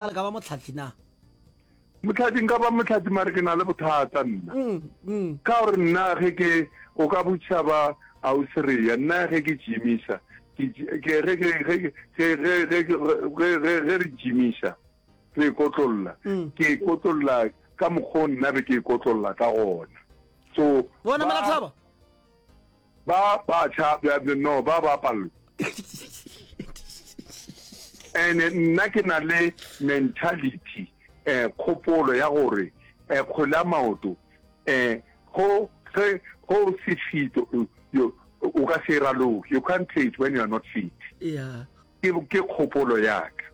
Le ka ba motlhahli na? Motlhahli, nka ba motlhahli mare ke na le bothata nna. Mm, mm. Ka gore nna ge ke, o ka botšiša ba Auseria, nna ge ke gymisa, ke, ke, ge ke, ge, ge, ge, ge, ge, ge, ge re gymisa, re ikotlolla, Mm. ke ikotlolla ka mokgwa o nna be ke ikotlolla ka gona. So, Bona ba, Melathaba? Ba batjha bja no ba ba palelwa. Ene nna ke na le mentality eh kgopolo ya gore eh kgwele ya maoto eh go ge go se fit you o ka se e raloke you can't play it when you are not fit. Yeah. Ke ke kgopolo ya ka.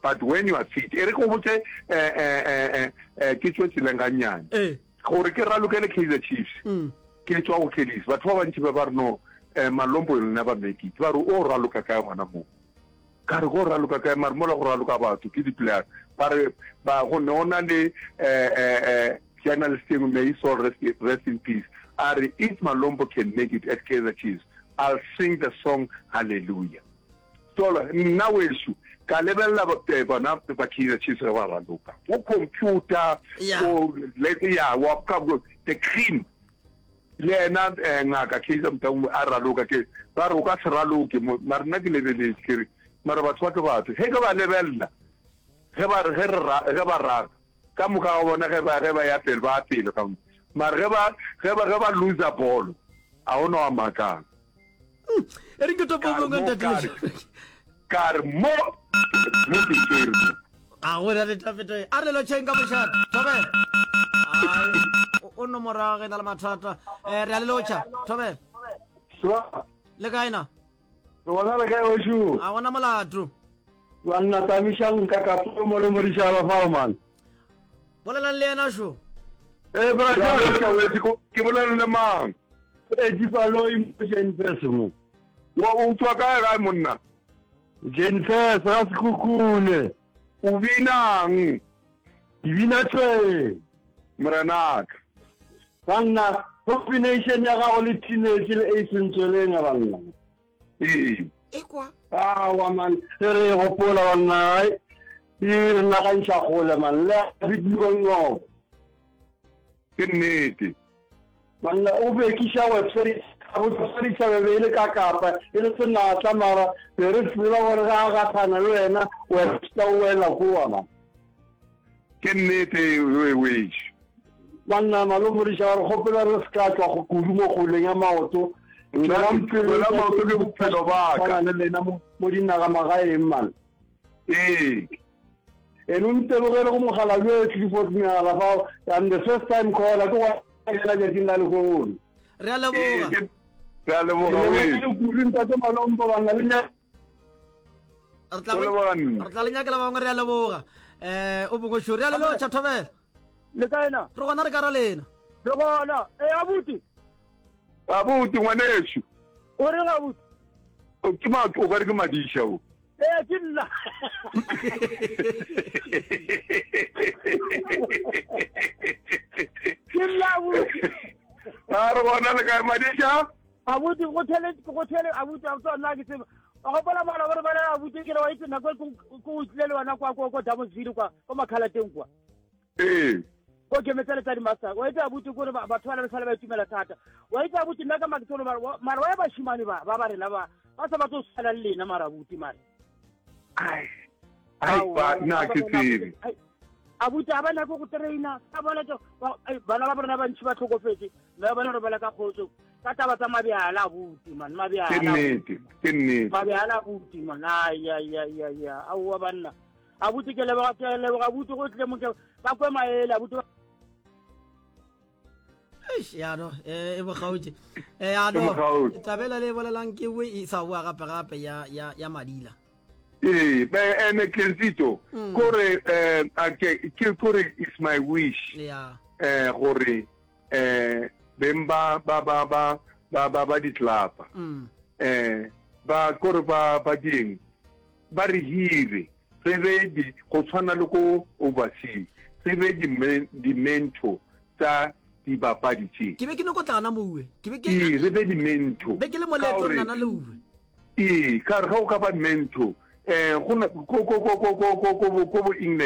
But when you are fit e re ke go botse eh eh eh eh ke tšwe tseleng gannyane. Eh. Gore ke ralokele Kaizer Chiefs. Mm. Ke tšwa go Kelly's. Batho ba bantši ba ba re no, eh, Malombo you'll never make it. Ba re o raloka kae gona moo? Ka re go raloka kae mare mola go raloka batho ke di-player. Ba re ba go ne go na le eh, eh, eh, journalist e nngwe, may his soul rest, rest in peace. A re if Malombo can make it at Kaizer Chiefs, I'll sing the song Hallelujah. Tolo, nna wešu, ka lebelela bona ba Kaizer Chiefs ge ba raloka. Go computer, go, ya, wa, ka, the cream. Le yena eh, ngaka Kaizer Motaung a raloka, ke, ba re o ka se raloke mo, mara nna ke lebeletše, ke re, mara batho ba ke batho. Ge ke ba lebelela, ge ba re, ge re ra, ge ba raga, ka moka ga bona ge ba, ge ba ya pele, ba ya pele ka, mara ge ba, ge ba, ge ba loser bolo, a go na wa makang. E re ke topo bongwe ntate. Ka re mo mo ke tšere mo. A go na le tafeto e. A re lo tšheng ka mošate. Thobela. Ai o no morago ge na le mathata. Eh re a le lotšha. Thobela. Swa. Le kae na? Re bona le kae wešo? A gona molato. Banna tamišang nka ka mo le modišaba fao man. Bolelang le yena šo. Eh bra ke bolele le mang? Eh Dipaloi mo Jenfes mo. Wa o tswa kae gae monna? Jenfes ga Sekhukhune. O binang? Ke bina tšweng. Morenaka. Banna combination ya gago le teenage le Ace Ntsweleng banna. Ee. Ekwa. Aowa man, ge re e gopola banna, ai, e re nagantšha kgole man, le a Bidiko Ngcobo. Ke nnete. Banna, o bekiša website, gabotse be be e le ka Kapa, e le senatla, mara be re tseba gore ge a gahlana le wena, Webster o wela kua man. Ke nnete wešo. Banna malomodiša re kgopela re se ka tšwa kudu mo kgweleng ya maoto. Tšwelang pele Kgwele ya maoto ke bophelo ba ka. Tshwana le lena mo mo dinagamagaeng man. Ee. Ene o ntebogele go mokgalabje Clifford Meala fao. I'm the first time caller ke go yena tšatšing la lehono. Re a leboga. Ee, re a leboga wešo. Kudu ntate Malompo banna le Re tla re tla le nyakela ba bangwe re a leboga. Eh o bongwe sho re a le lotšha thobela. Le kae na? Re gona re ka ra lena. Re gona. Eh abuti. Abuti ngwanešu. O reng abuti? Ke ma o ka re ke madiša o. Eh ke nna. Ke nna abuti. A re gona le kae madiša? Abuti go thele go thele abuti a tswa nna ke tseba. Wa gopola mala gore bana abuti ke re wa itse nako e ko o tlile le wena kwa kwa kwa Damasville kwa kwa Makhalateng kwa. Ee. Ko ke metsele tsa di-master wa itse abuti kore batho ba le sale ba itumela thata. Wa itse abuti nna ka maketsolo mara wa ya bashimane ba ba ba rena ba ba sa batlo tshwana le lena mara abuti mara. Ai. Ai ba nna ke tsebe. Abuti a ba nyake go traina ka bona bana ba rena ba ntši ba tlhokofetse mme ba bona re bala ka kgotso ka taba tsa mabjala abuti man mabjala. Ke nnete, ke nnete. Mabjala abuti man ai ai ai ai aowa banna. Abuti ke leboga ke leboga abuti go tle mo ke ba kwe maele abuti. Eish, ya no eh, e bogautše eh, ya no tabela le bolelang ke we e sa boa gape gape ya ya ya madila ee be ene Kenzito mm. kore eh ke ke kore is my wish yeah eh gore eh beng ba ba ba ba ba ba ba ditlapa mm. eh ba kore ba ba ding Ba re hire, re be di, go tshwana le ko overseas, re be di, di-mentor tsa dibapadi tše. Ke be ke nyoko tla gana mo uwe. Ke be ke. Ee, re be di-mentor. Be ke le moleetong nana le uwe. Ee, ka re ge o ka ba mentor. Um go na ko ko ko ko ko ko ko bo ko bo England.